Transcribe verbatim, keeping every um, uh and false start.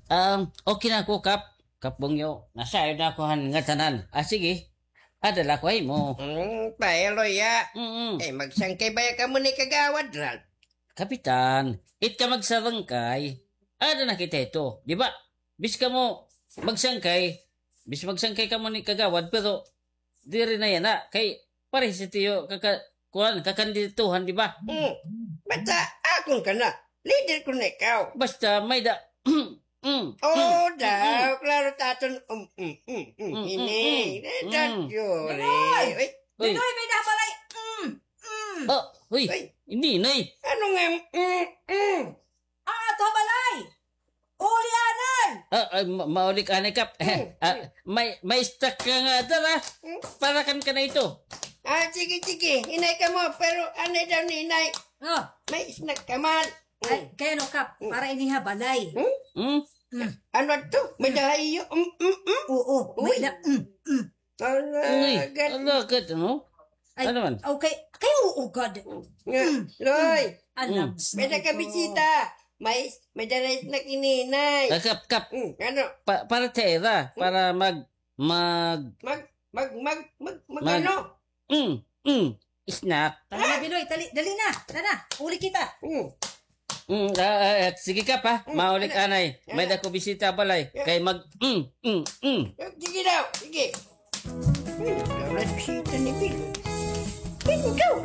Um, okay na ako, Kap. Kap Bungyo, nasayod na ako han ngatanan. Ah, sige. Ada la ako ha imo. Hmm, pahiloy, ya. Mm-mm. Eh, magsangkay baya kamo ni Kagawad Ralph? Kapitan, it ka magsarangkay. Ada na kita ito, di ba? Bis kamo magsangkay, bis magsangkay kamo ni Kagawad, pero diri na yana, kay parehas ito kaka-, kuan, kakandidatuhan, di ba? Hmm. Basta akon ka na. Leader ko na ikaw. Basta may da-, mm, mm, mm, daw, mm, klaro ta aton, um, mm, mm, mm, mm, ini. Mm, eh, don't mm, worry. Dinoy! Uy. Uy. Dinoy, may da balay. Mm, mm. Oh, uy. Uy. Hindi, Noy. Ano nga, mm, mm? Ah, ato balay! Uli anay! Ah, ah, ma-, mauli ka anay, Kap. Hmm. Ah, may, may stock ka nga dara. Hmm. Para kan ka na ito. Ah, sige, sige. Hinay kamo, pero anay daw ni inay. Oh. May snack ka man. Ay, hmm, kay ano, Kap? Hmm. Para ini ha balay. Hmm? Hmm? Hmm. Ano to? May dahayo? Mm, mm, mm? Oo, may da-, mm, mm. Uy, alagad. Alagad, ano? Ay, ano man? Okay. Kay oo gad. Nga, mm, Loy. Mm. Alam, mm. May nakabisita. May, may dala na kininay. Ah, Kap, Kap. Mm, ano? Pa-, para sa ira, mm, para mag-, mag-, mag-, mag-, mag-, mag-, mag-, ano? Mm, mm. Snack. Tara na, Binoy, dali, dali na. Tara na, uli kita. Mm. Mm, ah, ah, ah, sige, Kap, ha? Mm, mauli ka anay. May dako bisita balay. Yeah. Kay mag-, mm, mm, mm. Sige daw, sige. Ay, wala bisita ni Binoy. Binoy daw.